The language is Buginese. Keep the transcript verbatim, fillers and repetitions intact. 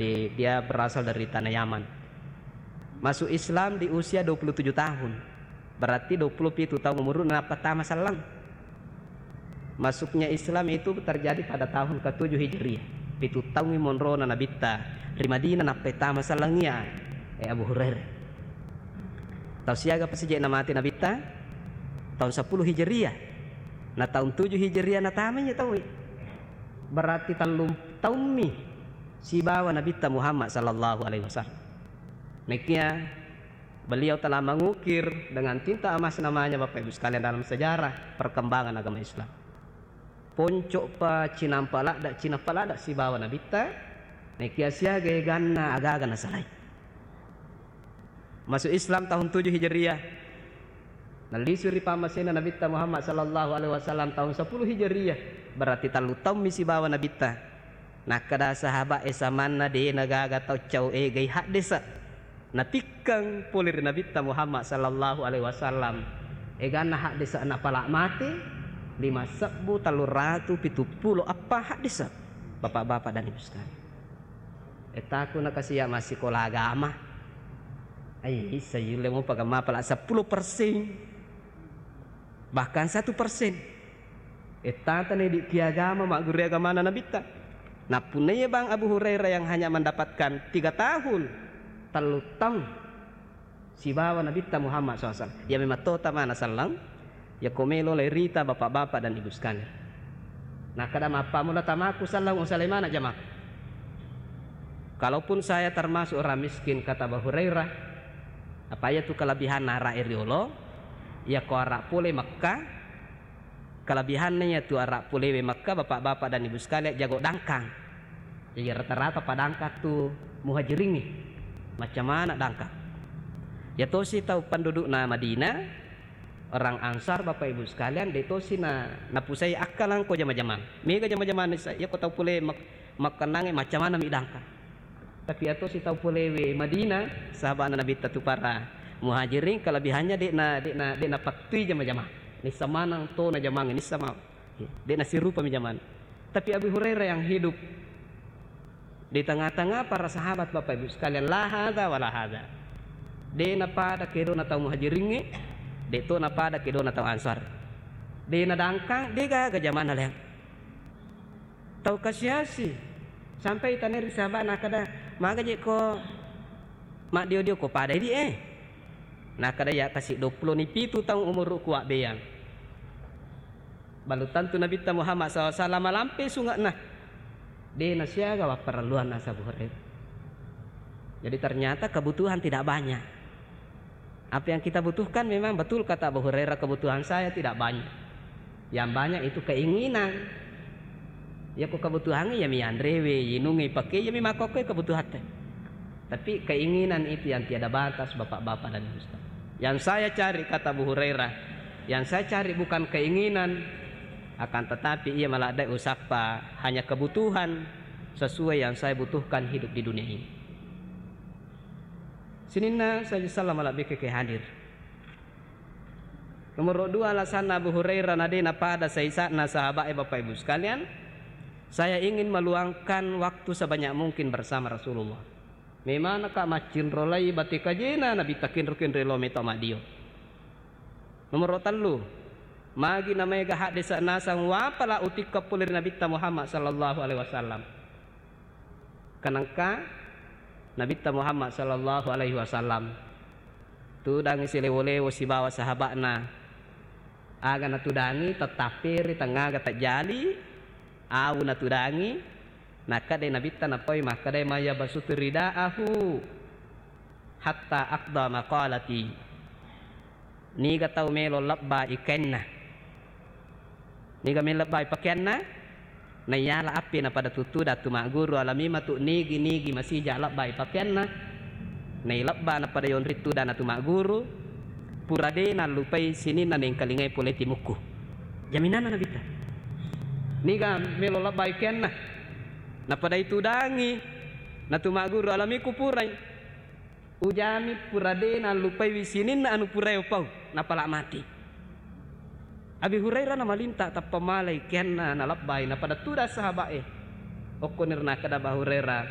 Jadi, dia berasal dari tanah Yaman. Masuk Islam di usia dua puluh tujuh tahun. Berarti dua puluh pitu tahun umurna nappa tama selleng. Masuknya Islam itu terjadi pada tahun ketujuh Hijriah. Pitu taungngi monrona Nabitta ri Madinah nappa tama selleng iya, eh, Abu Hurairah. Tau siaga pasije'na mate Nabitta? Tahun sepuluh Hijriah. Na tahun tujuh Hijriah natamai iya tauwe. Berarti tellung taummi sibawa Nabitta Muhammad sallallahu alaihi wasallam. Nakia beliau telah mengukir dengan tinta emas namanya, Bapak Ibu sekalian, dalam sejarah perkembangan agama Islam. Ponco'pa cinampa ladda, cinampa ladda sibawa Nabitta, nakia siaga eganna agaga nasalai. Masuk Islam tahun tujuh Hijriah. Nallisu ri pammasena Nabitta Muhammad sallallahu alaihi wasallam tahun sepuluh Hijriah. Berarti tellu taummi sibawa Nabitta. Nakkeda sahabat e samanna de nagaga tau cau egai haddesa. Natikkeng pole ri Nabitta Muhammad sallallahu alaihi wasallam. Eganna haddesa napala mate lima sebbu tellu ratu pitu pulo eppa haddesa. Bapak-bapak dan Ibu sekalian. Etaku nakasiya massikola agama. Ai, issa yulle mopa gamma pala seppulo persen. Bahkan satu persen. Ettata nedi ki agama magguru agamana Nabitta. Nappunnaiya bang Abu Hurairah yang hanya mendapatkan tiga tahun, tellu taung. Sibawa Nabitta Muhammad sallallahu alaihi wasallam. Iya memang tota mana sallam, iya ko melo lai rita bapak-bapak dan ibu sekalian. Nakkeda mappammula tamaku sallam usalai mana jamaah. Kalaupun saya termasuk orang miskin, kata Abu Hurairah, apa iya tu kelebihan arak riolo, iya ko arak pole Mekah, Kelebihanna iyatu arak polewe Mekka, bapak-bapak dan ibu sekalian, jago dangkang. Jadi rata-rata padangkang tu muhajiringnge. Macam mana dangkang? Ya tosi tau pendudukna Madinah, orang Ansar, bapak ibu sekalian, de tosi na napusai akkalang ko jama-jamang. Mega jama-jamang nisa, ya ko tau pole Mek-, Mekka nange macam mana mi dangkang. Tapi atau si tau polewe Madinah, sahabatna Nabitta tu para muhajirin, kelebihannya dekna, dekna, dekna pattui jama-jama. Nissa manang to na jamang, nissa ma-, dekna sirupa mi jaman. Tapi Abu Hurairah yang hidup di tengah-tengah para sahabat, Bapak Ibu sekalian, la hadza wa la hadza. Dekna pada kedona tau muhajiringnge, dek to na pada kedona tau Ansar. Dekna dangkang, de gaga jamana leang. Tau kasiasi. Sampai itanai ri sahabat nakkeda, "Maga je ko maddio-dio ko pada idi e?" Nakkeda, "Ya kasi dua pulo ni pitu taung umurku, Abbeang." Balu tentu Nabitta Muhammad sallallahu alaihi wasallam malampe sunge'na. De nasiaga wapparelluanna Abu Hurairah. Jadi ternyata kebutuhan tidak banyak. Apa yang kita butuhkan memang betul kata Abu Hurairah, "Kebutuhan saya tidak banyak. Yang banyak itu keinginan." Ya ko kebutuhan ya mi anrewe, inunge, pake, ya mi makkokkoe kebutuhan te. Tapi keinginan itu yang tiada batas, Bapak-bapak dan Ibu sekalian. Yang saya cari, kata Abu Hurairah, yang saya cari bukan keinginan, akan tetapi ia maladai usappa hanya kebutuhan sesuai yang saya butuhkan hidup di dunia ini. Sininna saja salam ala bikeke hadir. Nomor dua alasanna Abu Hurairah na de napada saisa'na sahabat e, Bapak Ibu sekalian, saya ingin meluangkan waktu sebanyak mungkin bersama Rasulullah. Memang naka maccinrolai bate kajena Nabi takinro-kinro lo meto madio. Nomor tellu, magi namaega haddesa nasang wapala utikka pole ri Nabitta Muhammad sallallahu alaihi wasallam. Kanengka Nabitta Muhammad sallallahu alaihi wasallam tudangi silewo-lewo sibawa sahaba'na. Aga natudangi, tettapperi, tengngaga tajjali, awu natudangi, nakkeda Nabitta napoi makkedai, "Maya basutu ridaahu hatta aqda maqalati." Niga tau melo lebbai kainna? Niga melo lebbai pakeanna? Naiyala appe napada tutuda tu magguru alami matu nigi-nigi masija lebbai pakeanna. Nailebba napada yonri tudana tu magguru, pura de nallupai sininna nengkalingai pole timukku. Jaminanna Nabitta. Niga melo lebbai kainna? Napada itudangi natu magguru alamiku purai. Ujami pura de nallupaiwi sininna anu purae upau, napala mati. Abi Hurairah namalinta tappa malai kenna nalabbai, napada tuda sahabat e. Okkoniro nakkeda Abu Hurairah,